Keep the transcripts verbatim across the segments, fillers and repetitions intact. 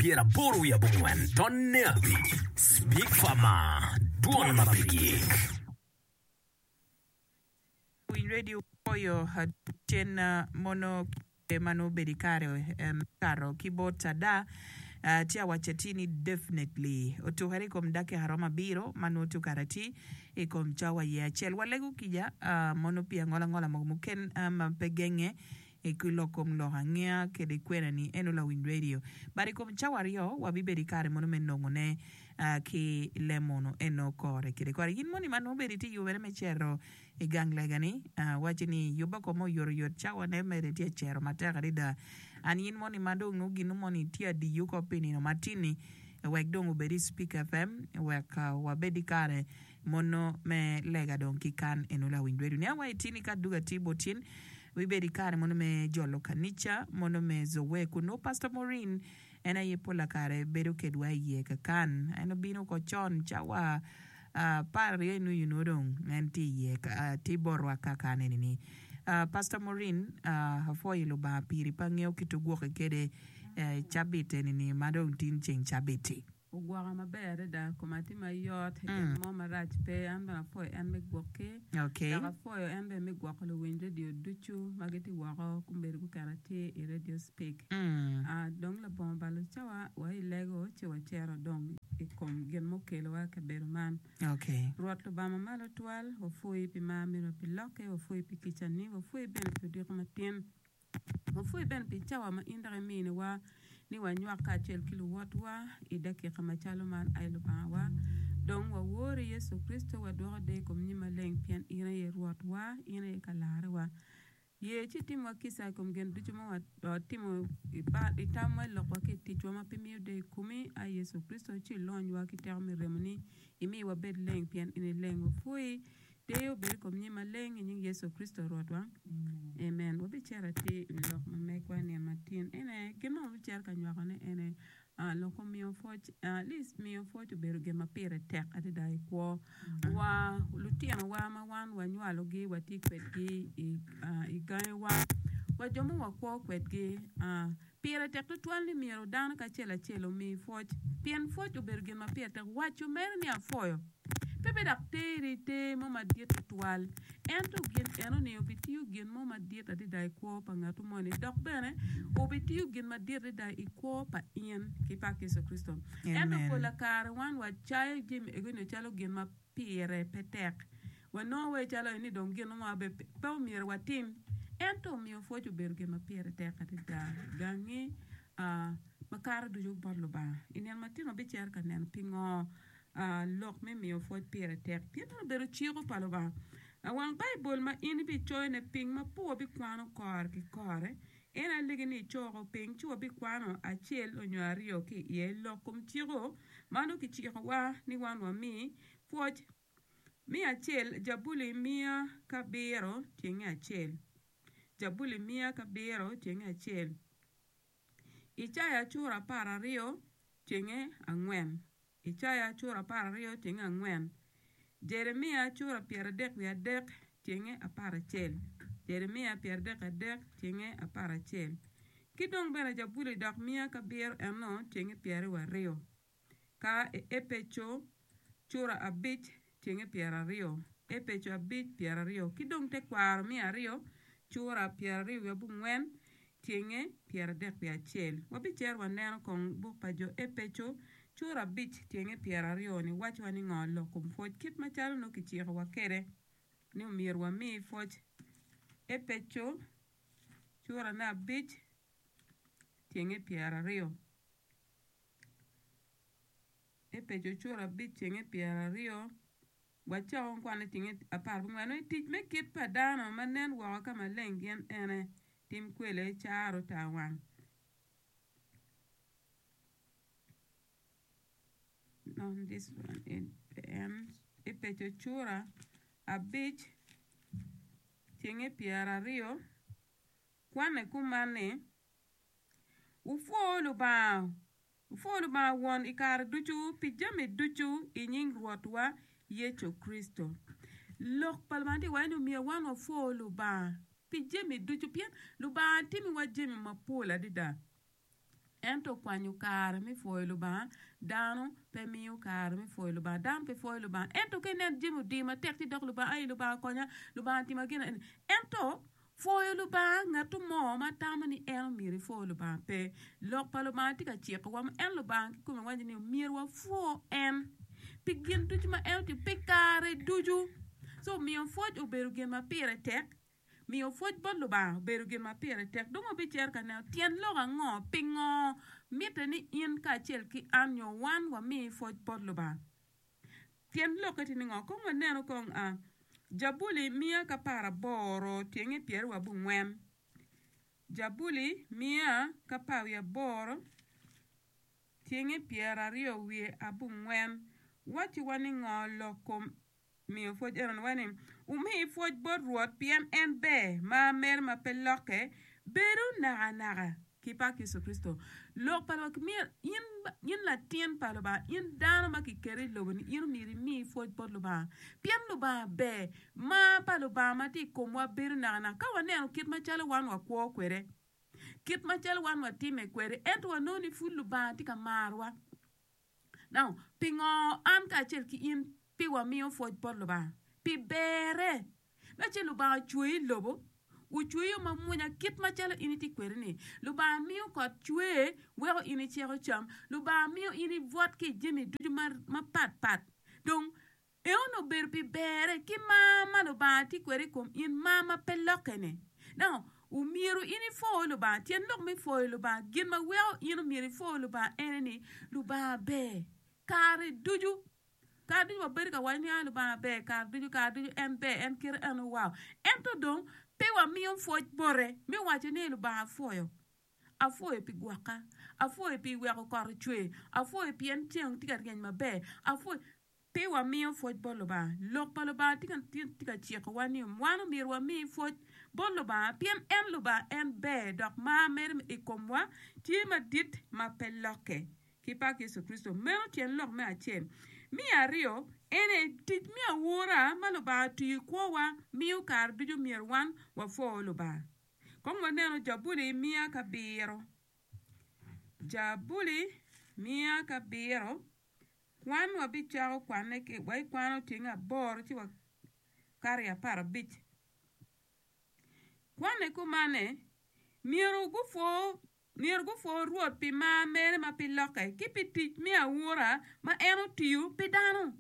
Pyeraboro wiye abongwen tonne abic Speak Farmer dwon ma pe gik. Winy Radio oyo cen mono kite ma nongo obedo i kare me kato ki bot ada tye awaco atir ni definitely otukere i kom dakika romo abiro ma nongo tye okato atir i kom cawa iye acel. Walego kica mono pi angola ngola mogo muken ma pe genge ki lok kom lok angeya kede kwena ni eno lawiny radio. But i kom cawa aryo wabibedo i kare mono me nongo ne ki lemono eno kore kede kore. In moni ma nongo obedo itye yubere me cito i gang lega ni waci ni yubbe kome oyotoyot cawa ne mere tye cero matek adada. An in moni ma dong nongo gino moni tye adiyo ko pi nino matin-ni wek dong obed i Speak F M wek wabed i kare mono me lega dong ki kan eno lawiny radio. Nia wa itini ka duga tye bot in wibedo i kare mono me jolo kanica mono me Zoe kun nongo Pastor Maureen en aye pola kare bedo kedwa iye kakan. En obino ko con cawa apar aryo inuyu nongo dong en tye iye tye botwa kakan eni ni. Pastor Maureen apwoyo Lubanga piri pe angeyo kit ogwoki kede cabit eni ni ma dong tin ceng cabit-ti. Ogwoka maber adada koma tye mayot gin mo marac pe an bene apwoyo en me gwoki dok apwoyo en bene me gwoko luwiny radio ducu ma gitye woko kombeddi guketo atir i Radio Speak. Dong labongo balo cawa wa i lego ci wacito dong i kom gin ma okelowa i kabedo man. Rwot Lubanga mamalo twal wapwoyi pi mar meri wa pi lokke wapwoyi pi kicani wapwoyi bene pi odiko matin. Wapwoyi bene pi cawa ma in dok iminiwa ni wanywak kacel ki luwotwa i dakika macalo man, ai Lubangawa. Dong wawori Yecu Kricito, wadwoko deyo i kom nyim maleng, pien in aye Rwotwa, in aye ka-larrewa. Ye ci itimwa kica i kom gin ducu ma watimo i tamwa, i lokwa ki i ticwa ma pe miyo deyo i komi, ai Yecu Kricito, ci ilonywa ki teko me remoni, imi wabed leng pien in ileng. Wapwoyi. Deyo obed i kom nyim maleng i nying Yecu Kricito Rwotwa. Amen. Wabicito atir i lok ma megwa nino matin. Ene gin ma wabicito ka nywakone ene lok kom miyo pwoc. At least miyo pwoc obedo gin ma pire tek adada i kwo wa. Lutinowa ma wan wanywalogi watye kwedgi i gangiwa wa jo ma wakwo kwedgi pire tek tutwal ni myero dano kacel acel omi pwoc pien pwoc obedo gin ma pire tek. Waco mere ni apwoyo pe be dok teri ter mo madit tutwal ento gin enoni obitiyo gin mo madit adada i kwo pa ngat moni dok bene obitiyo gin madit adada i kwo pa in ki pa Yecu Kricito. Ento pola kare wan wacayo jami egoni calo gin ma pire pe tek wanongo wai calo ni dong gin mo pe omyero watim ento omiyo pwoc obedo gin ma pire tek adada gangi makato ducu bot Lubanga. I nino matin wabicito ka neno pingo lok me miyo pwoc pire tek pien en obedo ciko pa Lubanga. Wang Baibul ma in ibicoyone piny ma pe wabikwano kore ki kore en alegi ni icoko piny ci wabikwano acel nyo aryo ki iye lok kom ciko ma nongo kicikowa ni wan wami pwoc. Me acel Jabuli miya kabiro tyenge acel. Jabuli miya kabiro tyenge acel. Icaya cura apar aryo tyenge angwen. Icaya cura apar aryo tyenge angwen. Jeremia cura pyeradek wiye adek tyenge apar acel. Jeremia pyeradek adek tyenge apar acel. Ki dong bene Jabuli dok miya kabiro eno tyenge pyeraryo aryo. Ka Epeco cura abic tyenge pyeraryo. Epeco abic pyeraryo. Ki dong tekwaro miya aryo cura pyeraryo wiye abongwen tyenge pyeradek wiye acel. Wabicito waneno kong buk pa jo Epeco cura abic tyenge pyeraryo ni wacowa ni ngo lok kom pwoc kit macalo nongo kicikowa kwede ni omyero wami pwoc. Epeco curane abic tyenge pyeraryo. Epeco cura abic tyenge pyeraryo wacako kwane tyenge apar abongwen ni tic me kit pa dano ma nen woko ka maleng gin ene tim kwele caro tar wang. No, this one en Epeco cura abic tyenge pyeraryo kwane kuman ni wupwo Lubanga wupwo Lubanga won i kare ducu pi jami ducu i nying Rwotwa Yecu Kricito. Lok pa Lubanga tye waco ni omyero wan wapwo Lubanga pi jami ducu pien Lubanga timiwa jami mapol adada. Ento kwanyo kare me pwoyo Lubanga, dano pe miyo kare me pwoyo Lubanga. Dano pe pwoyo Lubanga. Ento ka ineno jami odiyo matek ci dok Lubanga, ai Lubanga konya, Lubanga tima gin eni. Ento pwoyo Lubanga ngat mo ma tamo ni en omyero epwo Lubanga pe. Lok pa Lubanga tye ka cikowa ma en Lubanga kikome waco ni omyero wapwo en pi gin ducu ma en otimo pi kare ducu. So miyo pwoc obedo gin ma pire tek. Miyo pwoc bot Lubanga obedo gin ma pire tek. Dong wabicito ka neno tyen lok ango, pingo mitte ni in kacel ki an nyo wan wami pwoc bot Lubanga. Tyen lokke tye ni ngo? Kong wanenu kong a Jabuli miya ki apar aboro tyenge pyeraryo abongwen. Jabuli miya ki apar wiye aboro tyenge pyeraryo wiye abongwen wacciwa ni ngo lok kom miyo pwoc eno-ni waco ni, Wumi pwoc bot Rwot, pien en ber, mar mere ma pe lokke bedo nakanaka. Ki pak Yecu Kricito. Lok pa Lubanga myero in, in latin pa Lubanga, in dano ma kiketo i lobo-ni, in omyero imi pwoc bot Lubanga, pien Lubanga ber. Mar pa Lubanga ma tye i komwa bedo nakanaka. Ka waneno kit macalo wan wakwo kwede, kit macalo wan watime kwede, ento wanongo ni pud Lubanga tye ka marowa. Now, pingo an kacel ki in pe wamiyo pwoc bot Lubanga? Pi berre. Me acel, Lubanga ocweyi i lobo, ocweyi yo mamwonya kit macalo in itye kwede-ni. Lubanga miyo kot cwer weko in iceko cam. Lubanga miyo in ibwot ki i jami ducu mapat pat. Dong, Eno obedo pi berre ki mar ma Lubanga tye kwede i kom in, mar ma pe lokke-ni. Now, omyero in ipwo Lubanga. Tyen lok me pwoyo Lubanga, gin ma weko in omyero ipwo Lubanga ene ni, Lubanga ber kare ducu. Kare ducu wabedo ka waco ni, Ah, Lubanga ber kare ducu, kare ducu en ber, en kite eno, wow. Ento dong, pe wamiyo pwoc bote me waco ni Lubanga apwoyo. Apwoyo pi gwoka, apwoyo pi weko kot ocwer, apwoyo pien ceng tye ka ryeny maber, apwoyo. Pe wamiyo pwoc bot Lubanga. Lok pa Lubanga tye ka cikowa ni wan omyero wami pwoc bot Lubanga pien en Lubanga en ber dok mar mere i komwa tye madit ma pe lokke. Ki pak Yecu Kricito. Meno tyen lok me acel. Me aryo, ene tic me awura ma Lubanga otiyo i kwowa miyo kare ducu myero wan wapwo Lubanga. Kong waneno Jabuli miya kabiro. Jabuli miya kabiro. Kwan wabicako kwanne ki waikwano tyeng aboro ci wakato i apar abic. Kwanne kumane, myero gupwo myero gupwo Rwot pi mar mere ma pe lokke ki pi tic me awura ma en otiyo pi dano.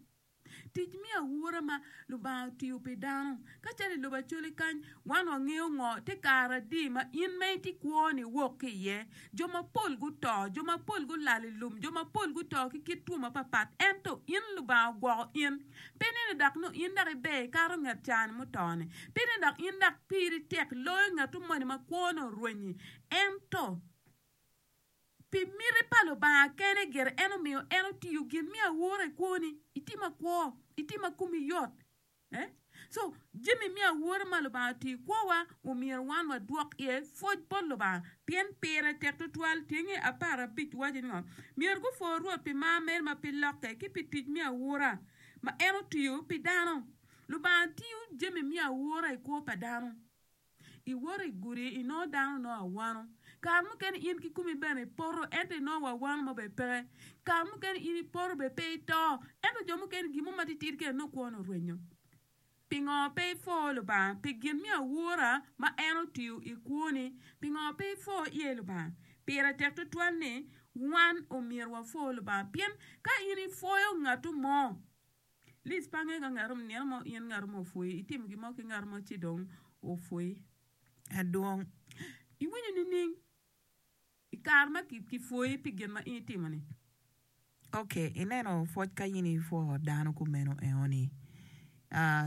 Tic me awura ma Lubanga otiyo pi dano. Ka calo i lobo Acholi kany, wan wangeyo ngo te kare adi ma in ma itye kwo-ni iwok ki iye. Jo mapol guto, jo mapol gulal i lum, jo mapol guto ki kit two mapatpat, ento in Lubanga ogwoko in. Pe nene dok nongo in dok iber ikato nget ca-ni muto-ni. Pe nene dok in dok piri tek loyo ngat moni ma kwone orwenyi. Ento. Pi miti pa Lubanga kene gire en omiyo en otiyo gin me awora i kwoni. Itye makwo, itye ma komi yot. Eh? So, jami me awora ma Lubanga otiyo i kwowa omyero wan wadwok iye pwoc bot Lubanga pien pire tek tutwal. Tyenge apar abic waco ni ngo? Myero gupwo Rwot pi mar mere ma pe lokke ki pi tic me awora ma en otiyo pi dano. Lubanga tiyo jami me awora i kwo pa dano. Iwoto i gudi inongo dano nongo awano. Kare mukene in kikomi bene ipoto ento inongo wa awano mo bene peke. Kare mukene in ipoto bene pe ito ento jo mukene gin mo matitidi kene nongo kwone orwenyo. Pingo pe ipwo Lubanga pi gin me awura ma en otiyo i kwoni? Pingo pe ipwo iye Lubanga? Pire tek tutwal ni wan omyero wapwo Lubanga pien ka in ipwoyo ngatu mo, Liz pe angeyo ka ngat nino mo in ngat mo opwoyi, itimo gin mo ki ngat mo ci dong opwoyi. Adwong. Iwinyo nining i kare ma kipwoyi pi gin ma in itimo-ni? Ok, ineno pwoc ka in ipwo dano kumeno eoni,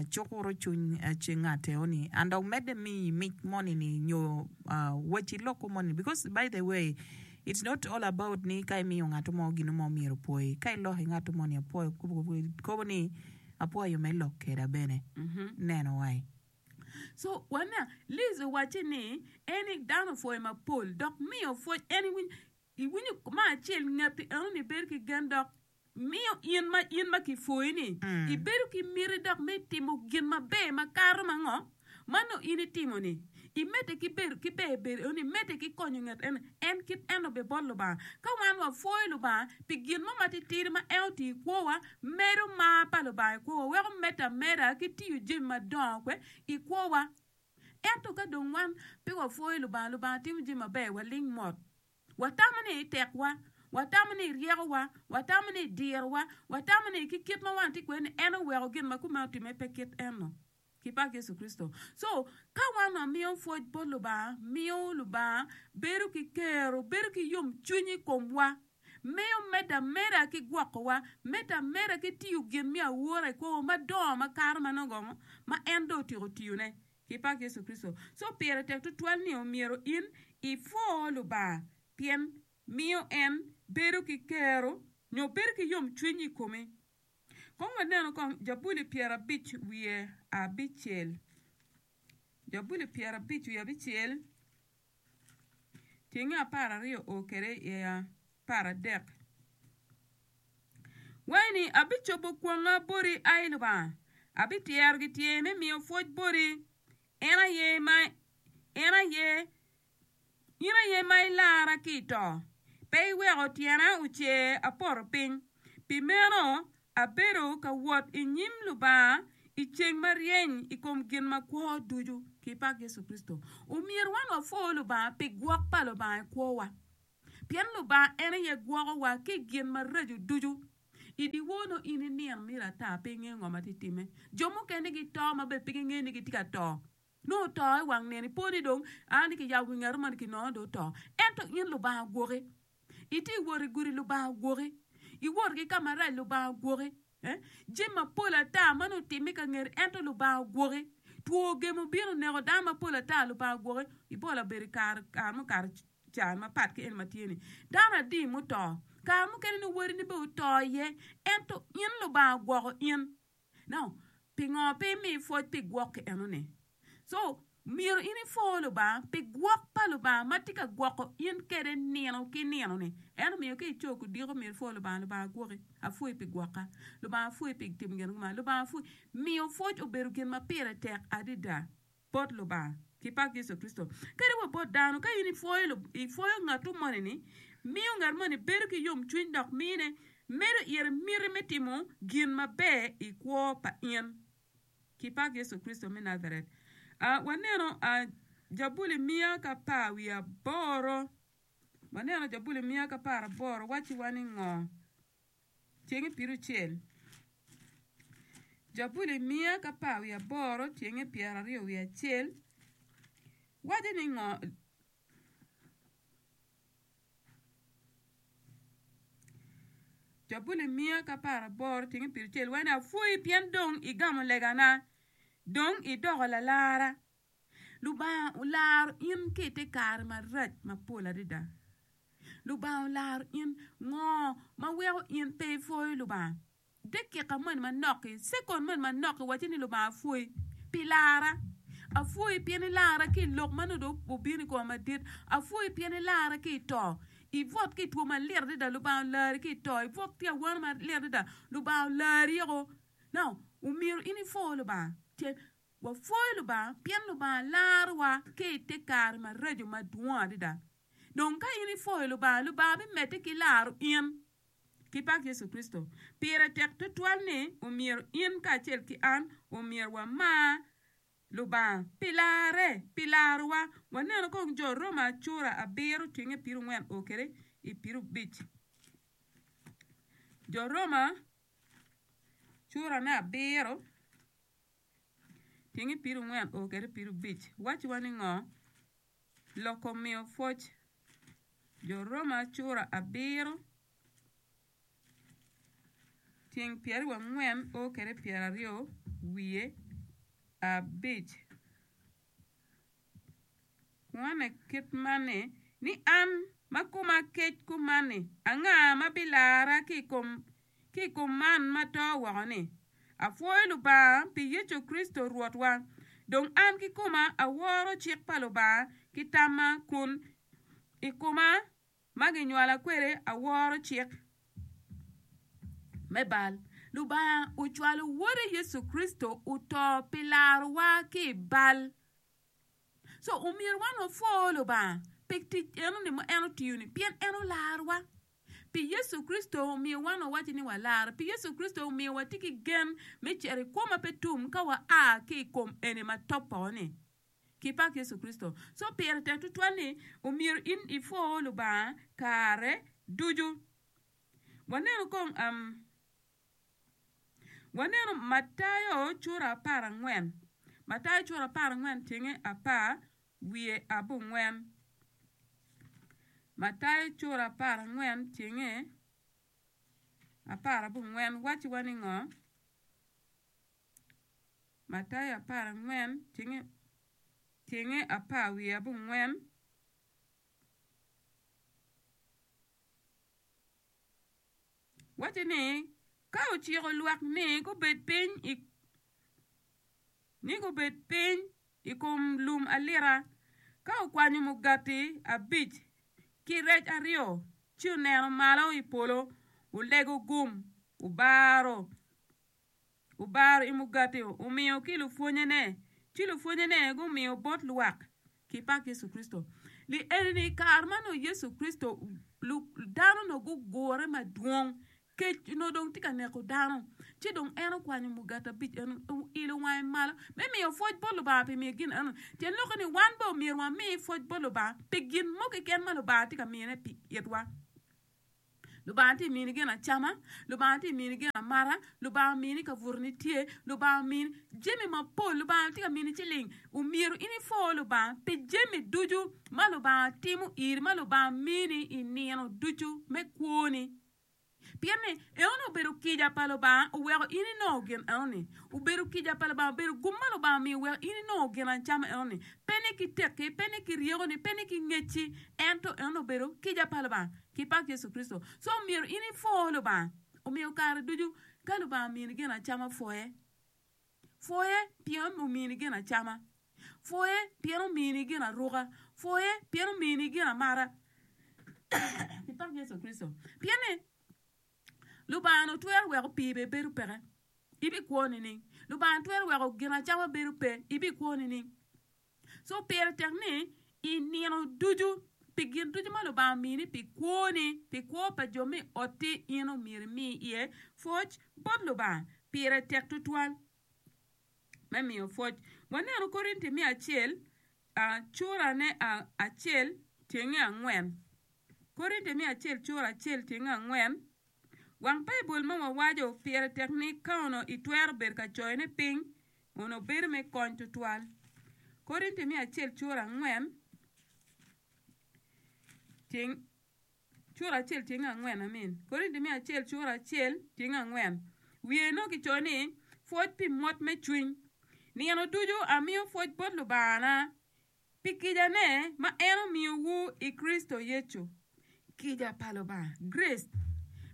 cukuro cwiny ngat eoni and dok medde miyi mic moni ni nyo wacci loko moni because by the way it's not all about ni ka imiyo ngat mo gin mo myero opwoyi ka iloko i ngat mo ni apwoyo kobo ni apwoyo me lok keda bene neno wai. So wana Liz owacce ni en dano opwoyo mapol dok miyo pwoc en iwinyo me acel ngati enoni bedo ki gen dok miyo in ma in ma kipwoyi-ni ibedo ki miti dok me timo gin maber makato ma ngo ma nongo in itimo-ni. Imedde ki bedo ki ber bedo eno ni, imedde ki konyo nget eno, en kit eno be bot Lubanga. Ka wan wapwoyo Lubanga pi gin mo matitidi ma en otiyo i kwowa, medo mar pa Lubanga i kwowa, weko medde ameda ki tiyo jami madongo kwe i kwowa. Ento ka dong wan pe wapwoyo Lubanga, Lubanga timo jami maber, waling mot. Watamo ni tekwa, watamo ni ryekowa, watamo ni dirowa, watamo ni ki kit ma wan tye kwede ni en oweko gin ma kume otimme pe kit eno. Ki pak Yecu Kricito. So, ka wan wamiyo pwoc bot Lubanga, miyo Lubanga bedo ki kero, bedo ki yomcwiny i komwa, miyo medde ameda ki gwokowa, medde ameda ki tiyo gin me awora i kwowa madongo makato ma nongo ma en dong otyeko tiyone. Ki pak Yecu Kricito. So, pire tek tutwal ni omyero in ipwo Lubanga, pien miyo en bedo ki kero nyo bedo ki yomcwiny i komi. Kong waneno kong Jabuli pyerabic wiye abicel. Jabuli pyerabic wiye abicel, tyenge apar aryo o kwede i apar adek. Waco ni, Abicobo kwonga boti, ai Lubanga, abityero gityer me miyo pwoc boti, en aye ma en aye in aye ma ilara ki i to, pe iweko tyena ocer apoto piny. Pi meno abedo ka wot i nyim Lubanga i ceng ma ryeny i kom gin makwo ducu. Ki pak Yecu Kricito. Omyero wan wapwo Lubanga pi gwok pa Lubanga i kwowa. Pien Lubanga en aye gwokowa ki i gin maraco ducu. I dyewor nongo in inino myero ata pe ingeyo ngo ma tye timme. Jo mukene gito ma bene pe gingeyo ni gitye ka to. Nongo oto i wang nino ipo ni dong a ni kiyabo wi ngat moni kinongo dong oto. Ento in Lubanga ogwoki. Itye i wot i gudi Lubanga ogwoki. Iwot ki ka marac Lubanga ogwoki. Eh? Jami mapol ata ma nongo otimme ka ngeti ento Lubanga ogwoki. Two gemo obino oneko dano mapol ata Lubanga ogwoki. Ebola obedo i kare kare mukato can mapat ki en ma tye ni. Dano adi muto? Kare mukene nongo wadini bene oto iye ento in Lubanga ogwoko in. Now, pingo pe imi pwoc pi gwok eno-ni? So, myero in ipwo Lubanga pi gwok pa Lubanga ma tye ka gwoko in kwede nino ki nino-ni. En omiyo ka ico kudiko myero ipwo Lubanga, Lubanga gwoki, apwoyi pi gwoka, Lubanga apwoyi pi timo gin kuman, Lubanga apwoyi. Miyo pwoc obedo gin ma pire tek adada bot Lubanga ki pak Yecu Kricito. Kadi wa bot dano, ka in ipwoyo, ipwoyo ngatu moni-ni, miyo ngat moni bedo ki yomcwiny dok mine medo ire miti me timo gin maber i kwo pa in. Ki pak Yecu Kricito me Najaret. Uh, waneno uh, Jabuli miya ki apar wiye aboro. Waneno Jabuli miya ki apar aboro wacciwa ni ngo? Tyenge pyeraucel. Jabuli miya ki apar wiye aboro tyenge pyeraryo wiye acel waco ni ngo? Jabuli miya ki apar aboro tyenge pyeraucel waco ni apwoyi pien dong igamo legana, dong idoko lalara. Lubanga olaro in ki i te kare marac mapol adada. Lubanga olaro in ngo ma weko in pe ipwoyo Lubanga? Dakika moni manok-ki, cekon moni manok-ki wacci ni Lubanga apwoyi pi lara. Apwoyi pien ilara ki i lok ma nongo dong obino i koma madit. Apwoyi pien ilara ki i to. Ibwot ki i two malit adada, Lubanga olari ki i to. Ibwot ki awano malit adada, Lubanga olari oko. Now, omyero in ipwo Lubanga. Tyen, wapwoyo Lubanga pien Lubanga larowa ki i te kare maraco madwong adada. Dong ka in ipwoyo Lubanga, Lubanga bimedde ki laro in. Ki pak Yecu Kricito. Pire tek tutwal ni omyero in kacel ki an omyero wamar Lubanga pi larre, pi larowa. Waneno kong jo Roma cura abiro tyenge pyerangwen o kwede i pyerabic. Jo Roma cura me abiro tyenge pyerangwen o kwede pyerabic wacciwa ni ngo? Loko miyo pwoc. Jo Roma cura abiro tyeng pyeraryo angwen o kwede pyeraryo wiye abic. Kwane kit man ni, ni an ma koma kec kuman-ni, anga ma bilara ki i kom ki i kom man ma to woko-ni? Apwoyo Lubanga pi Yecu Kricito Rwotwa. Dong an kikoma aworo cik pa Lubanga ki tamma, kun i koma ma ginywala kwede aworo cik me bal. Lubanga ocwalo Wode Yecu Kricito oto pi larowa ki i bal. So omyero wan wapwo Lubanga pi tic enoni ma en otiyo-ni, pien en olarowa. Pi Yecu Kricito omiyo wan wawaco ni walaro. Pi Yecu Kricito omiyo watye ki gen me cito i kwo ma pe tum ka wa a ki i kom eni ma topo-ni. Ki pak Yecu Kricito. So pire tek tutwal ni omyero in ipwo Lubanga kare ducu. Waneno kong um, waneno Matayo cura apar angwen. Matayo cura apar angwen tyenge apar wiye abongwen. Matayo cura apar angwen tyenge apar abongwen wacciwa ni ngo? Matayo apar angwen tyenge tyenge apar wiye abongwen. Wacce ni, ka ociko lwak ni gubed piny i ni gubed piny i kom lum alita, ka okwanyo mugati abic ki rec aryo, ci oneno malo i polo, olego gum, obaro obaro i mugati, omiyo ki lupwonnyene, ci lupwonnyene gumiyo bot lwak. Ki pak Yecu Kricito. Li eni i kare ma nongo Yecu Kricito dano onongo gugure madwong, kec onongo dong tye ka neko dano, ci dong en okwanyo mugati abic eno oilo wange malo me miyo pwoc bot Lubanga pi miyo gin eno. Tyen lokke ni wan bene omyero wami pwoc bot Lubanga pi gin mo keken ma Lubanga tye ka miyone pi itwa. Lubanga tye mini gin acama, Lubanga tye mini gin amata, Lubanga omini kabuto-ni tye, Lubanga omini jami mapol, Lubanga tye ka mini ciling. Omyero in ipwo Lubanga pi jami ducu ma Lubanga timo iri, ma Lubanga mini i nino ducu me kwoni. Pien ni enoni obedo kica pa Lubanga oweko in inongo gin enoni. Obedo kica pa Lubanga, obedo gum ma Lubanga omiyo oweko in inongo gin acama enoni. Pe ni ki tekki, pe ni ki ryekoni, pe ni ki ngecci, ento enoni obedo kica pa Lubanga. Ki pak Yecu Kricito. So omyero in ipwo Lubanga. Omiyo kare ducu ka Lubanga omini gin acama pwoye. Pwoye pien omini gin acama. Pwoye pien omini gin aruka. Pwoye pien omini gin amata. Ki pak Yecu Kricito. Pien ni Lubanga onongo twero weko pii bene bedo peke. Ibikwo nining? Lubanga twero weko gin acama bedo pe. Ibikwo nining? So pire tek ni i nino ducu, pi gin ducu ma Lubanga omini pi kwoni, pi kwo pa jo me otti, in omyero imi iye pwoc bot Lubanga. Pire tek tutwal me miyo pwoc. Waneno Korinti me acel, curane acel tyenge angwen. Korinti me acel cura acel tyenge angwen. Wang Baibul ma wawaco pire tek ni ka onongo itwero bedo ka coyone piny, onongo bedo me kony tutwal. Korinti me acel cura angwen tyeng cura acel tyeng angwen amin. Korinti me acel cura acel tyeng angwen. Wiye nongo kicoyo ni pwoc pi mot me cwiny. Nino ducu amiyo pwoc bot Lubangana pi kicane ma en omiyowu i Kricito Yecu. Kica pa Lubanga, grace,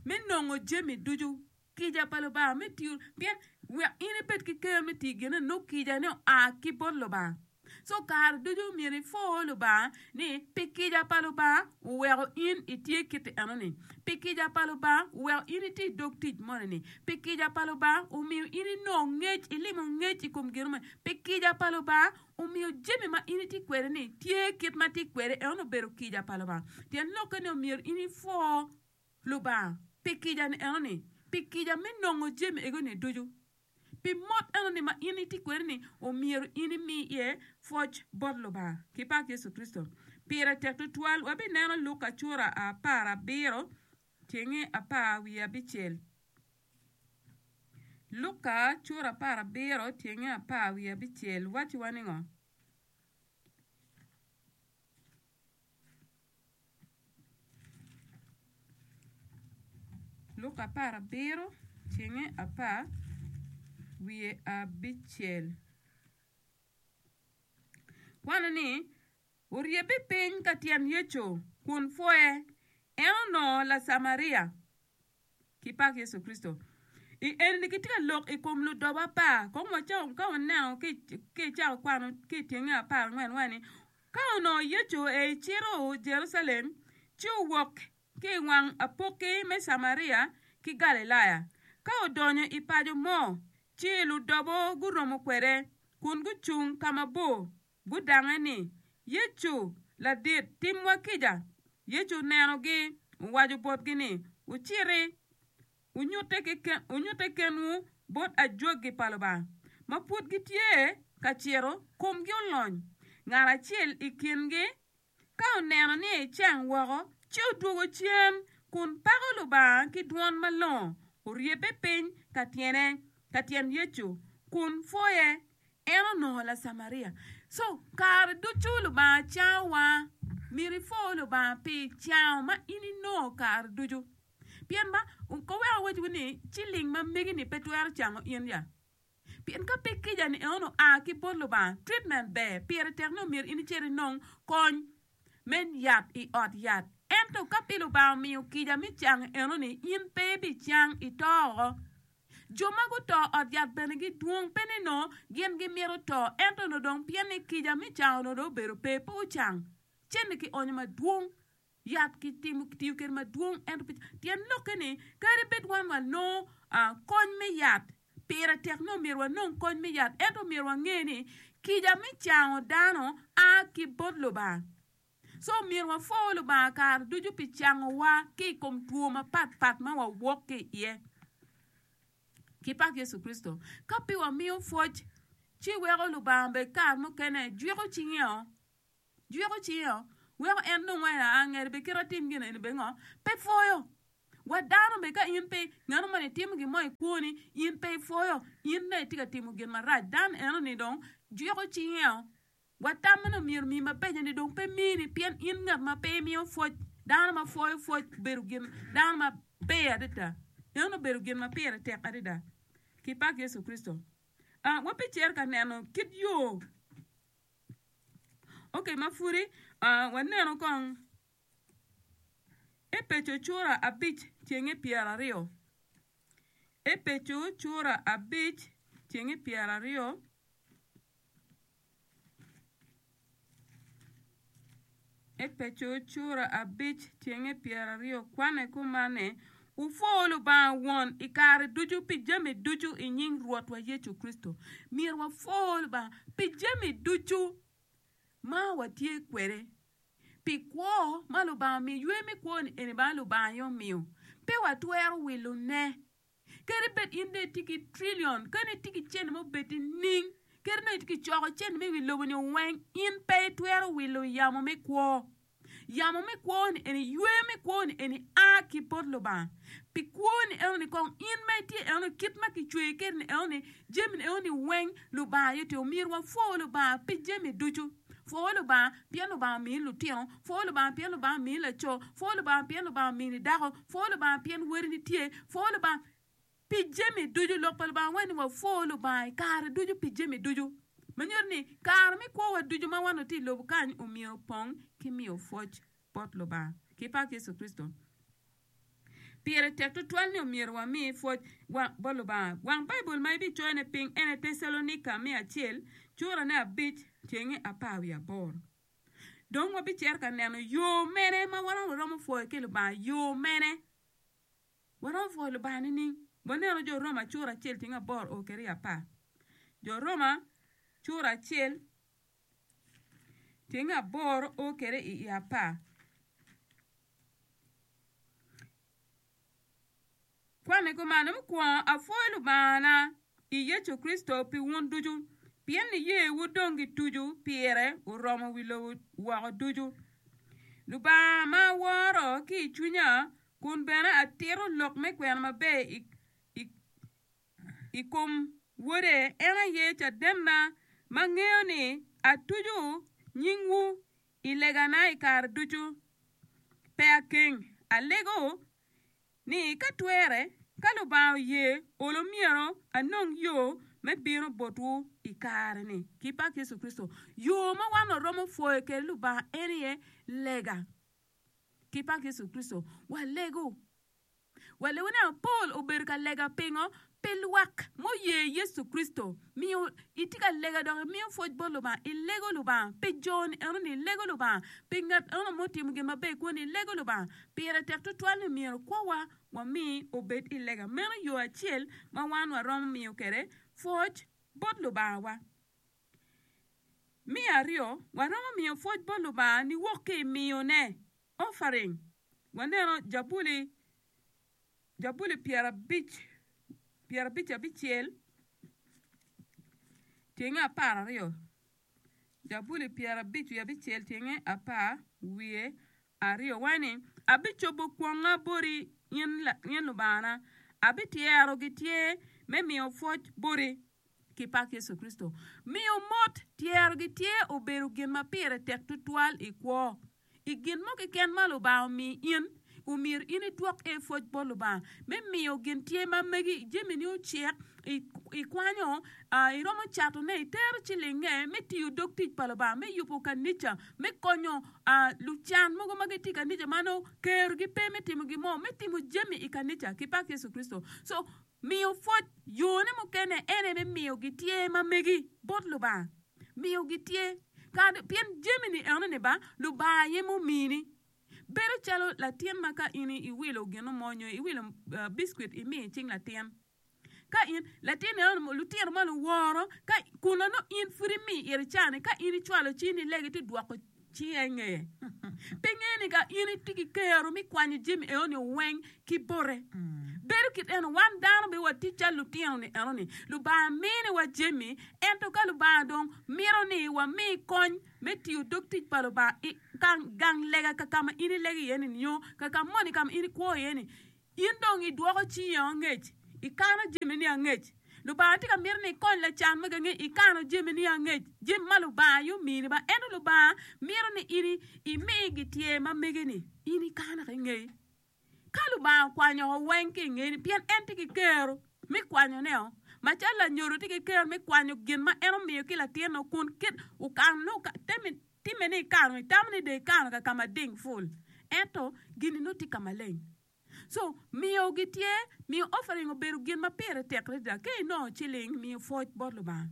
me nongo jami ducu. Kica pa Lubanga me tiyo, pien wek in ibed ki ker me tiyo gin eno, kica ni oa ki bot Lubanga. So kare ducu myero ipwo Lubanga ni pi kica pa Lubanga oweko in itye kiti enoni. Pi kica pa Lubanga oweko in itye i dog tic moni-ni. Pi kica pa Lubanga omiyo in inongo ngec, ilimo ngec i kom gin moni. Pi kica pa Lubanga omiyo jami ma in itye kwede-ni tye kit ma tye kwede, eno obedo kica pa Lubanga. Tyen lokke ni omyero in ipwo Lubanga pi kica-ni enoni, pi kica me nongo jami ego-ni ducu. Pi mot enoni ma in itye kwede-ni, omyero in imi iye pwoc bot Lubanga. Ki pak Yecu Kricito. Pire tek tutwal. Wabineno Luka cura apar abiro tyenge apar wiye abicel. Luka cura apar abiro tyenge apar wiye abicel wacciwa ni ngo? Luka apar abiro tyenge apar wiye abicel. Kwano ni, Oryebbe piny ka tyen Yecu kun pwoye, en onongo Lacamaria. Ki pak Yecu Kricito. I eni kitye ka lok i kom ludobo apar. Kong wacako ka waneno ki icako kwano ki i tyenge apar angwen wa ni, Ka onongo Yecu ecito Jerucalem, ci owok ki i wang apokki me Camaria ki Galilaya. Ka odonyo i paco mo, ci ludobo guromo kwede, kun gucung ka mabor, gudange ni, Yecu, ladit, timwa kica. Yecu onenogi, owaco botgi ni, Wuciti, wunyutte kenwu bot ajwagi pa Lubanga. Ma pud gitye ka cito, komgi olony. Ngat acel i kingi ka oneno ni ecang woko, ci odwogo cen kun pako Lubanga ki dwon malongo, oryebbe piny ka tyene, ka tyen Yecu, kun pwoye. En onongo Lacamaria. So, kare ducu Lubanga cangowa. Myero ipwo Lubanga pi cango ma in inongo kare ducu. Pien ba, ko wek awacwu ni, ciling ma megi-ni pe twero cango in ya. Pien ka pe kica-ni eno oa ki bot Lubanga, treatment ber, pire tek ni omyero in icit inong kony me yat i ot yat. Ento ka pe Lubanga omiyo kica me cango eno-ni, in pe ibicang, ito oko. Jo ma guto ot yat bene gidwong, pe ni nongo gin gimito to, ento onongo dong pien ni kica me cango onongo dong obedo pe, pe ocang. Cente kionyo madwong, yat kitimo kitiyo kwede madwong, ento pe tyen lokke ni kadi bed wan wanongo kony me yat, pire tek ni omyero wanong kony me yat, ento omyero wange ni kica me cango dano a ki bot Lubanga. So myero wapwo Lubanga kare ducu pi cangowa ki i kom two mapatpat ma wawok ki iye. Ki pak Yecu Kricito. Ka pe wamiyo pwoc, ci weko Lubanga bed kare mukene jwiko cinge-o, jwiko cinge-o, weko en dong waco ni aa ngete bene kit atim gin eni bene ngo, pe pwoyo. Wa dano bene ka in pe ngat moni timo gin mo i kwoni, in pe ipwoyo, in dong itye ka timo gin marac, dano eno-ni dong jwiko cinge-o. Watamo ni omyero omi mabeco ni dong pe mini pien in ngat ma pe imiyo pwoc. Dano ma pwoyo pwoc obedo gin dano maber adada. Eno obedo gin ma pire tek adada. Ki pak Yecu Kricito. Uh, wabicito ka neno kit yo. Ok, ma pudi uh, waneno kong Epeco cura abic tyenge pyeraryo. Epeco cura abic tyenge pyeraryo. Epeco cura abic tyenge pyeraryo kwane kuman ni, Wupwo Lubanga Won i kare ducu pi jami ducu i nying Rwotwa Yecu Kricito. Myero wapwo Lubanga pi jami ducu ma watye kwede, pi kwo ma Lubanga omiyo. Ywe me kwo-ni eni bene Lubanga aye omiyo. Pe watwero wilone. Kadi bed in dong itye ki trillion, kadi itye ki cente ma obed nining, kadi nongo itye ki coko cente me wi lobo-ni weng, in pe itwero wilo yamo me kwo. Yamo me kwo-ni eni, yweyo me kwo-ni eni a ki bot Lubanga. Pi kwo-ni enoni kong in ma itye enoni, kit ma kicweyi kwede-ni enoni, jami-ni enoni weng Lubanga aye tye. Omyero wapwo Lubanga pi jami ducu. Pwo Lubanga pien Lubanga omini lutino, pwo Lubanga pien Lubanga omini laco, pwo Lubanga pien Lubanga omini dako, pwo Lubanga pien wadini tye, pwo Lubanga pi jami ducu. Lok pa Lubanga waco ni wapwo Lubanga i kare ducu pi jami ducu. Ma nyuto ni kare me kwowa ducu ma wan watye i lobo kany omyero opong ki miyo pwoc bot Lubanga ki pak Yecu Kricito. Pire tek tutwal ni omyero wami pwoc bot Lubanga. Wang Baibul ma ibicoyone piny en aye Tecalonika me acel, curane abic, tyenge apar wiye aboro. Dong wabicito ka neno yo mene ma waromo pwoyo ki Lubanga. Yo mene? Waromo pwoyo Lubanga nining? Waneno Jo Roma cura acel tyenge aboro o kwede i apar. Jo Roma cura acel tyenge aboro o kwede i apar. Kwanne kuman, Mukwongo apwoyo Lubangana i Yecu Kricito pi wun ducu, pien niyewu dong gituco pire oromo wi lobo woko ducu. Lubanga ma aworo ki i cwinya kun bene atito lok me kwena maber i kom Wode, en aye cadenna ma ngeyo ni atuco nyingwu I legana i kare ducu, pe akeng. Alego ni ka twere, ka Lubanga oye, olo myero anong yo me bino botwu i kare-ni. Ki pak Yecu Kricito, yo ma wan waromo pwoyo kwede Lubanga en aye lega. Ki pak Yecu Kricito, walego. Walewone Paul obedo ka lega pingo? Pi lwak muye Yecu Kricito. Miyo itye ka lega dok imiyo pwoc bot Lubanga. Ilego Lubanga pi jo-ni enoni, ilego Lubanga pi ngat eno mutimo gin maber i kwoni, ilego Lubanga. Pire tek tutwal ni myero kwowa wami obed i lega. Meno yo acel ma wan waromo miyo kwede pwoc bot Lubangawa. Me aryo, waromo miyo pwoc bot Lubanga niwok ki i miyone, offering. Waneno Jabuli, Jabuli pyerabic, pyerabic abicel, tyenge apar aryo. Jabuli pyerabic wiye abicel tyenge apar wiye aryo. Waco ni, Abicobo kwonga boti, in, in Lubangana, abityero gityer me miyo pwoc boti. Ki pak Yecu Kricito. Miyo mot tyero gityer obedo gin ma pire tek tutwal i kwo. I gin mo keken ma Lubanga omiyi in, omyero in idwok iye pwoc bot Lubanga me miyo gin tye ma megi, jamini ocek, ikwanyo, iromo catone, itero cilingnge me tiyo dog tic pa Lubanga, me yubo kanica, me konyo lucan mogo ma gitye i kanica ma nongo kerogi pe me timo gin mo, me timo jami i kanica ki pak Yecu Kricito. So, Miyo pwoc, Yone mukene en aye me miyo gityer ma megi bot Lubanga. Miyo gityer, kadi pien jami-ni enoni ba Lubanga aye mumini. Bedo calo latin ma ka in iwilo gin mo nyo iwilo biscuit imiyo i cing latin. Ka in latin enoni lutino ma luworo ka kun nongo in pud imiyo ite cani ka in icwalo cini ilegi ti dwoko cinge i ngeye. Pe ngeyo ni ka in itye ki kero me kwanyo jami enoni weng ki bote. Bedo kit eno, wan dano bene watye calo lutino-ni enoni. Lubanga miniwa jami, ento ka Lubanga dong mito ni wami kony me tiyo dog tic pa Lubanga i gang lega ka ka ma in ilego iye-ni nyo ka ka moni ka ma in ikwo iye-ni, In dong idwoko cingi angec, ikano jamini angec. Lubanga tye ka mito ni ikony lacan ma gangi, ikano jamini angec, jami ma Lubanga aye omini ba. Ento Lubanga mito ni in imi gityer ma megi-ni, in ikano ki ngeyi. Ka Lubanga okwanyo o weng ki i ngeni, pien en tye ki kero me kwanyone-o, macalo lanyodo tye ki kero me kwanyo gin ma en omiyo ki latinne kun kit okano timme ni ikano, itamo ni dong ikano ka ka mading pul, ento gin-ni nongo tye ka maleng. So, miyo gityer, miyo offering obedo gin ma pire tek adada. Ka inongo ciling, miyo pwoc bot Lubanga.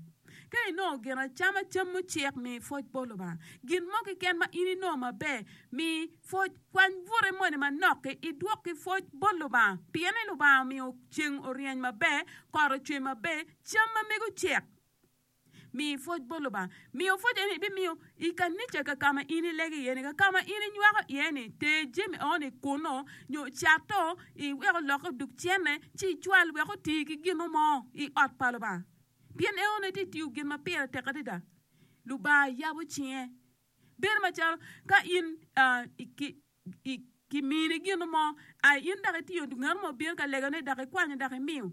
Ka inongo gin acama, cam mucek, mi pwoc bot Lubanga. Gin mo keken ma in inongo maber, mi pwoc. Kwany bute moni manok-ki, idwok ki pwoc bot Lubanga. Pien ni Lubanga omiyo ceng oryeny maber, kot ocwe maber, cam ma mege ocek. Mi pwoc bot Lubanga. Miyo pwoc eni ibimiyo i kanica ka ka ma in ilego iye-ni, ka ka ma in inywako iye-ni. Ter jami eno-ni kunnu, nyo cato, iwek olokke odug cente, ci icwal wek oti ki gin mo i ot pa Lubanga. Pien enoni tye tiyo gin ma pire tek adada. Lubanga yabo cinge. Bedo macalo ka in kimini gin mo, in dok itiyo, ngat mo obino ka legone dok ikwanyo dok imiyo.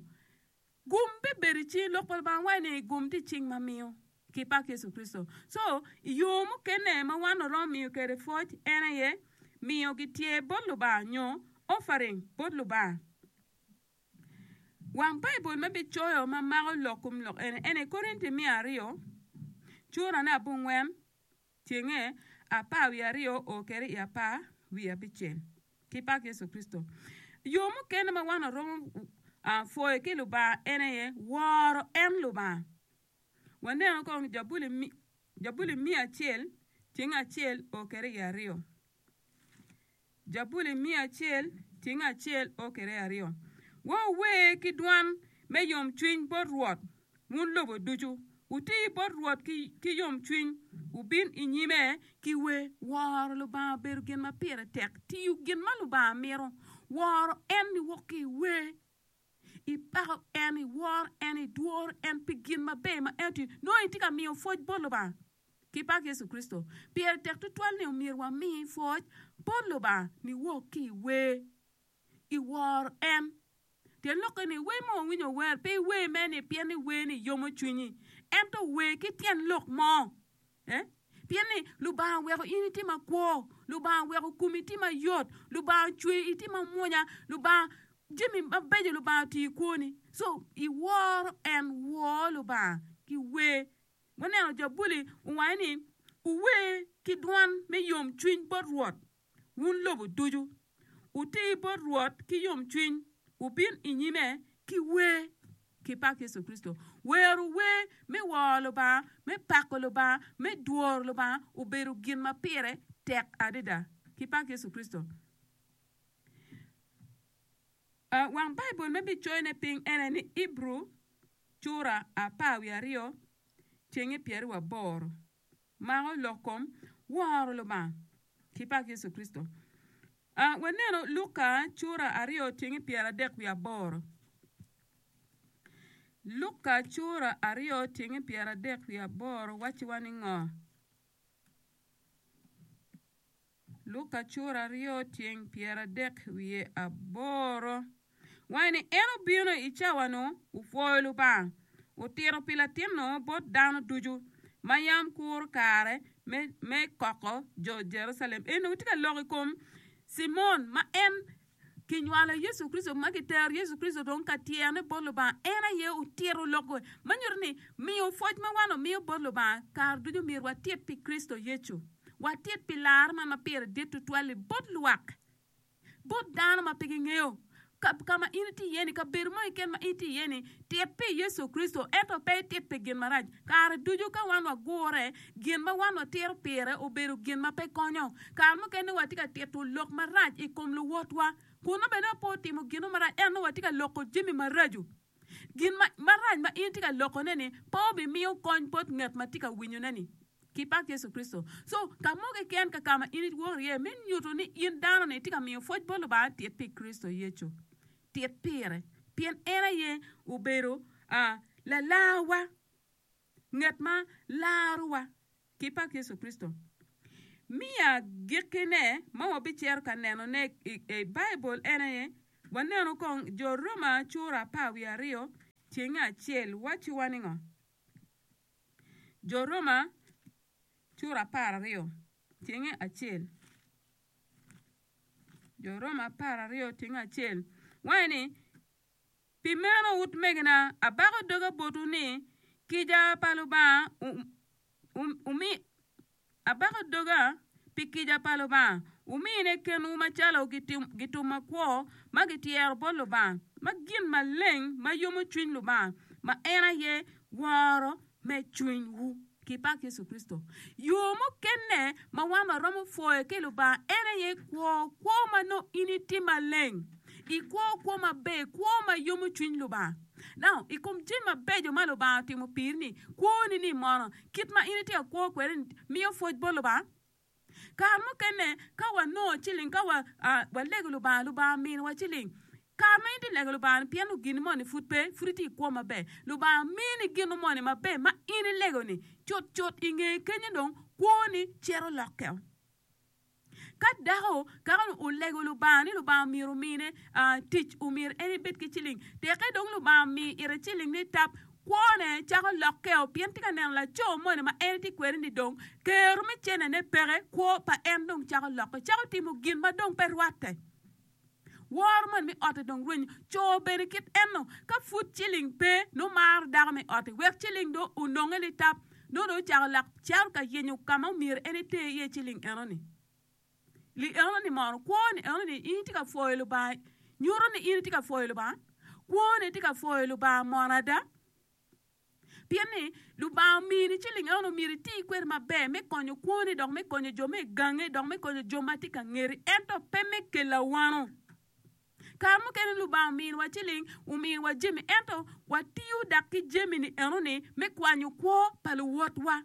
Gum bibedo i cing, lok pa Lubanga waco ni gum tye i cing ma miyo ki pak Yecu Kricito. So, i yo mukene ma wan waromo miyo kwede pwoc en aye miyo gityer bot Lubanga nyo offering bot Lubanga. Wang Baibul ma bicoyo ma mako lok kom lok eni en aye Korinti me aryo curane abongwen Tyenge apar wiye aryo o kwede i apar wiye abicel, ki pak Yecu Kricito. Yo mukene ma wan waromo pwoyo ki Lubanga en aye woro en Lubanga. Waneno kong Jabuli miya acel tyenge acel o kwede i aryo. Jabuli miya acel tyeng acel o kwede aryo. Wuwer ki dwan me yomcwiny bot Rwot, wun lobo ducu. Wuti bot Rwot ki yomcwiny, wubin i nyime ki wer. Woro Lubanga obedo gin ma pire tek. Tiyo gin ma Lubanga mito. Woro en niwok ki i wer. Ipako en, iworo en, idworo en pi gin maber ma en otiyo. Nongo itye ka miyo pwoc bot Lubanga. Ki pak Yecu Kricito. Pire tek tutwal ni omyero wami pwoc bot Lubanga niwok ki i wer, i woro en. Tyen lokke ni, wer ma wawinyo wer, pe iwer mere ni pien ni wer ni yomo cwinyi, ento wer ki tyen lok mo. Eh? Pien ni Lubanga oweko in itye makwo, Lubanga oweko komi tye mayot, Lubanga ocweyi itye mamwonya, Lubanga jami mabeco Lubanga otiyo i kwoni. So, iworo en, wor Lubanga ki wer. Waneno Jabuli owaco ni, Wuwer ki dwan me yomcwiny bot Rwot, wun lobo ducu. Wuti bot Rwot ki yomcwiny, wubin i nyime ki wer. Ki pak Yecu Kricito. Wero wer me woro Lubanga, me pako Lubanga, me dworo Lubanga obedo gin ma pire tek adada. Ki pak Yecu Kricito. Wang Baibul ma ibicoyone piny en aye ni Ibru cura apar wiye aryo, cenge pyeraryo aboro. Mako lok kom woro Lubanga. Ki pak Yecu Kricito. Uh, waneno Luka cura aryo tyeng pyeradek wiye aboro. Luka cura aryo tyeng pyeradek wiye aboro wacciwa ni ngo? Luka cura aryo tyeng pyeradek wiye aboro. Waco ni en obino i cawa-nu opwoyo Lubanga, otito pi latin-nu bot dano ducu ma yam kuro kare me, me koko jo Jerucalem. En onongo tye ka lok i kom Cimon ma en kinywalo Yecu Kricito, ma kitero Yecu Kricito dong ka tyerone bot Lubanga. En aye otito lok ma nyuto ni miyo pwoc ma wan omiyo bot Lubanga kare ducu myero watit pi Kricito Yecu. Watit pi lar man ma pire dit tutwal-li bot lwak, bot dano ma pe gingeyo. Ka, ka ma in itye iye-ni, kabedo mo keken ma in itye iye-ni, tit pi Yecu Kricito, ento pe itit pi gin marac. Kare ducu ka wan wagure, gin ma wan watito pire obedo gin ma pe konyo. Kare mukene watye ka tito lok marac i kom luwotwa, kun nongo bene pe otimo gin mo marac, ento nongo watye ka loko jami maraco. Gin ma, marac ma in itye ka lokone-ni pe obimiyo kony bot ngat ma tye ka winyone-ni. Ki pak Yecu Kricito. So, ka mo keken ka ka ma in iwok iye me nyuto ni in dano-ni itye ka miyo pwoc bot Lubanga, tit pi Kricito Yecu. Tit pire, pien en aye obedo uh, lalarwa, ngat ma larowa. Ki pak Yecu Kricito. Miya gikkine ma wabicito ka nenone i, i Baibul en aye, waneno kong Jo Roma cura apar wiye aryo tyenge acel wacciwa ni ngo? Jo Roma cura apar aryo tyenge acel. Jo Roma apar aryo tyenge acel. Waco ni, Pi meno utmegina, abako doga botwu ni, kica pa Lubanga umi, abako doga pi kica pa Lubanga, wumine kenwu macalo gitum makwo ma gityero bot Lubanga, ma gin maleng ma yomo cwiny Lubanga, ma en aye woro me cwinywu. Ki pak Yecu Kricito. Yo mukene ma wan waromo pwoyo ki Lubanga en aye kwo kwo ma nongo in itye maleng, ikwo kwo maber, kwo ma yomo cwiny Lubanga. Now, i kom jami mabeco ma Lubanga otimo piri-ni, kwoni ni mono, kit ma in itye ka kwo kwede-ni miyo pwoc bot Lubanga? Kare mukene ka wanongo ciling, ka wa, uh, walego Lubanga, Lubanga miniwa ciling. Kare ma in itye lego Lubanga ni pien gin moni pud pe, pud itye i kwo maber. Lubanga mini gin moni maber ma in ilego-ni, cutcut i nge kenyo dong kwoni cito lokkeo. Ka dako kaka olego Lubanga ni Lubanga myero omine uh, tic, omyero en ebed ki ciling, teke dong Lubanga omiyo ite ciling ni tap, kwone cako lokkeo pien tye ka neno laco moni ma en tye kwede ni dong kero me cenene peke, kwo pa en dong cako lokke, cako timo gin ma dong pe rwatte. Woro moni me otte dong rwenyo. Co bene kit enno, ka pud ciling pe, nongo maro dako me otte, wek ciling dong ononge litap, nongo dong ocako lak cito ka yenyo ka ma omyero en eter iye ciling enoni. Li enoni mono, kwoni enoni, in itye ka pwoyo Lubanga, nyuto ni in itye ka pwoyo Lubanga? Kwoni tye ka pwoyo Lubanga mono ada? Pien ni Lubanga omini ciling eno myero iti kwede maber me konyo kwoni dok me konyo jo me gangi dok me konyo jo ma tye ka ngeti, ento pe me kelo awano. Kare mukene Lubanga ominiwa ciling, ominiwa jami, ento watiyo dok ki jami-ni enoni me kwanyo kwo pa luwotwa.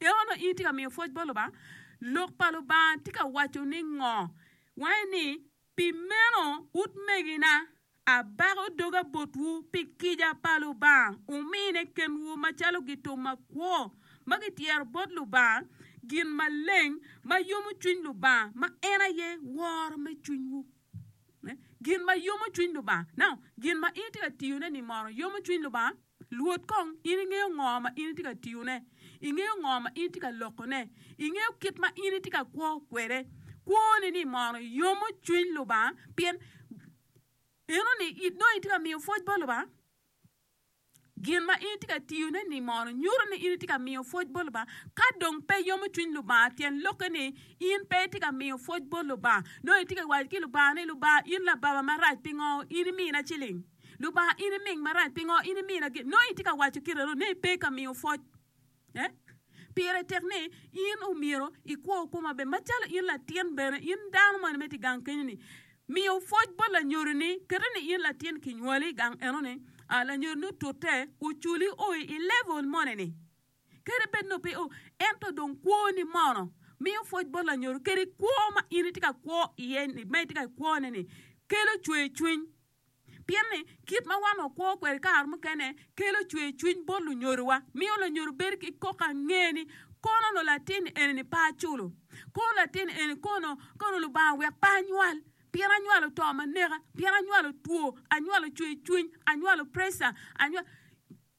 Eno in itye ka miyo pwoc bot Lubanga? Lok pa Lubanga tye ka waco ni ngo? Wange ni, Pi meno, utmegina, abako doga botwu pi kica pa Lubanga, wumine kenwu macalo gitum makwo ma gityero bot Lubanga, gin maleng ma yomo cwiny Lubanga, ma en aye woro me cwinywu. Gin ma yomo cwiny Lubanga. Now, gin ma in itye ka tiyone-ni mono yomo cwiny Lubanga? Lwot kong, in ingeyo ngo ma in itye ka tiyone? Ingeyo ngo ma in itye ka lokone? Ingeyo kit ma in itye ka kwo kwede? Kwoni ni mono yomo cwiny Lubanga? Pien enoni nongo itye ka miyo pwoc bot Lubanga. Gin ma in itye ka tiyone ni mono nyuto ni in itye ka miyo pwoc bot Lubanga. Ka dong pe yomo cwiny Lubanga, tyen lokke ni in pe itye ka miyo pwoc bot Lubanga. Nongo itye ka waco ki Lubanga ni, Lubanga, in lababa marac, pingo in imina ciling? Lubanga, in iming marac, pingo in imina gin? Nongo itye ka waco kite ni ipe ka miyo pwoc. Eh? Pire tek ni in omyero ikwo kwo maber. Macalo in latin bene, in dano moni ma itye i gang kenyo-ni, miyo pwoc bot lanyodoni, kete ni in latin kinywali i gang enoni, ah, lanyodoni otute, oculi o i level moni-ni. Kadi bed nongo pe o, ento dong kwoni mono miyo pwoc bot lanyodo kadi kwo ma in itye ka kwo iye-ni, ma itye ka kwone-ni kelo cwercwiny. Pien ni, kit ma wan wakwo kwede kare mukene kelo cwercwiny bot lunyodowa. Miyo lanyodo bedo ki koko ange ni, 'Kono onongo latin eni-ni pe aculo. Kono latin eni kono, kono Lubanga wek pe anywal. Pien anywalo to ma neka, pien anywalo two, anywalo cwercwiny, anywalo preca, anywalo.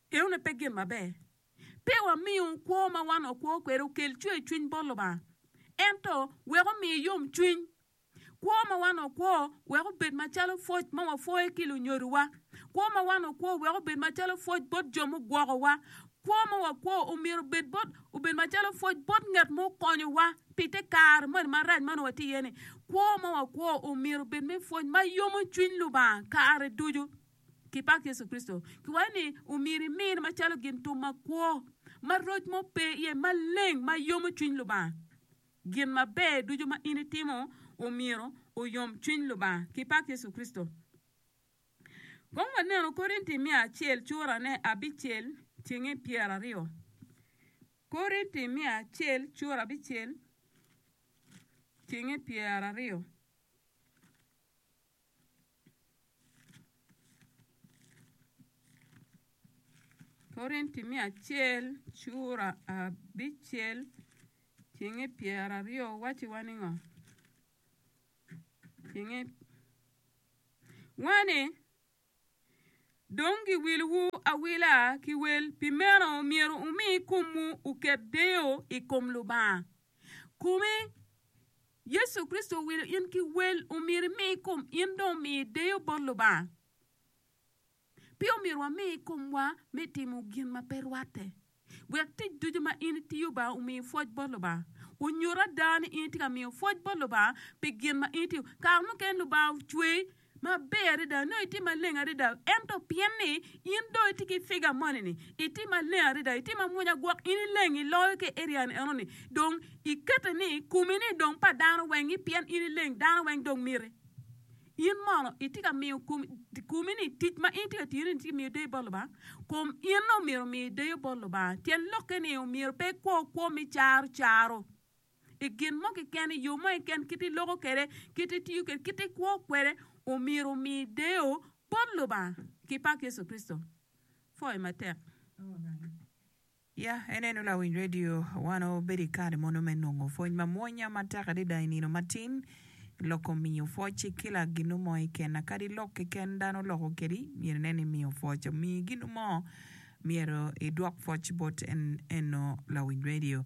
Enoni pe gin maber. Pe wamiyo kwo ma wan wakwo kwede okel cwercwiny bot Lubanga, ento wek omi yomcwiny. Kwo ma wan wakwo wek obed macalo pwoc ma wapwoyo ki lunyodowa. Kwo ma wan wakwo wek obed macalo pwoc bot jo mugwokowa. Kwo ma wakwo omyero obed bot obed macalo pwoc bot ngat ma okonyowa pi te kare moni marac ma onongo watye iye-ni. Kwo ma wakwo omyero obed me pwony ma yomo cwiny Lubanga kare ducu. Kipak Yecu Kricito. Kiwaco ni omyero imine macalo gin tum makwo, ma roc mo pe iye, maleng, ma yomo cwiny Lubanga. Gin maber ducu ma in itimo omyero oyom cwiny Lubanga. Kipak Yecu Kricito. Kong wanenu Korinti miya acel curane abicel tyenge pyeraryo. Korinti miya acel cura abicel tyenge pyeraryo. Korinti me acel cura abicel tyenge pyeraryo wacciwa ningo? Tyenge Wani, Dong giwilowu awila ki wel, pi meno myero wumi komwu oket deyo i kom Lubanga. Komi Yecu Kricito owilo in ki wel, omyero imi kom in dong omi deyo bot Lubanga. Pe omyero wami komwa me timo gin ma pe rwatte. Wek tic ducu ma in itiyo ba omi pwoc bot Lubanga. Onyut ada ni in itye ka miyo pwoc bot Lubanga pi gin ma in itiyo. Kare mukene Lubanga ocweyi maber adada, nongo itye maleng adada, ento pien ni in dong itye ki figa moni-ni, itye maleng adada, itye mamwonya gwok in ileng iloyo ki i area ni enoni, dong ikete ni komi-ni dong pa dano weng-ngi pien in ileng dano weng dong miti. In mono itye ka miyo komi-ni tic ma in itye ka tiyone-ni tye ka miyo deyo bot Lubanga? Kom in omyero omi deyo bot Lubanga. Tyen lokke ni omyero pe ikwo kwo me caro caro i gin mo keken, i yo mo keken, kit iloko kwede, kit itiyo kwede, kit ikwo kwede, omyero omi deyo bot Lubanga ki pak Yecu Kricito. Pwoyo matek. Ya, en eno lawiny redio, wan wabedo i kare mono me nongo pwony mamwonya matek adada i nino matin. Loko miyo pwoc ki kila ginu mo keken, kadi lok keken dano loko kedi, myero inen ni miyo pwoc. Omiyi ginu mo, myero idwok pwoc bot en eno lawiny redio.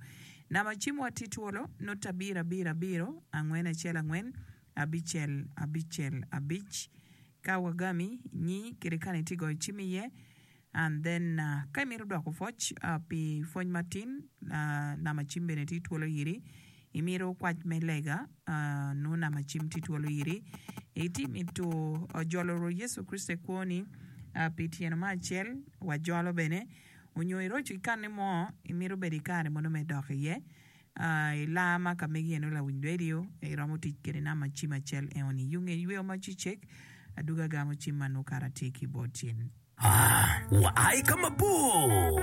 Namba cim wa tye twolo, nota abiro abiro abiro, angwen acel angwen, abicel abicel abic. Ka wagami, nyi kede kani itye goyo cim iye. And then ka imito dwoko pwoc pi pwony matin, namba cim bene tye twolo iri. Imito kwac me lega, nongo namba cim tye twolo iri. Itye mito jolo Rwot Yecu Kricito i kwoni pi tyeno me acel, wajolo bene. Onyo iroco ikanne mo, imito bedo ikare mono me dok iye. I laa ma ka megi eno lawiny radio iromo tic kede namba cim acel eno-ni. Yung iyweyo ma cicek, aduga gamo cim ma nongo kara tye ki bot cin. Aa, wa ai ka mabor!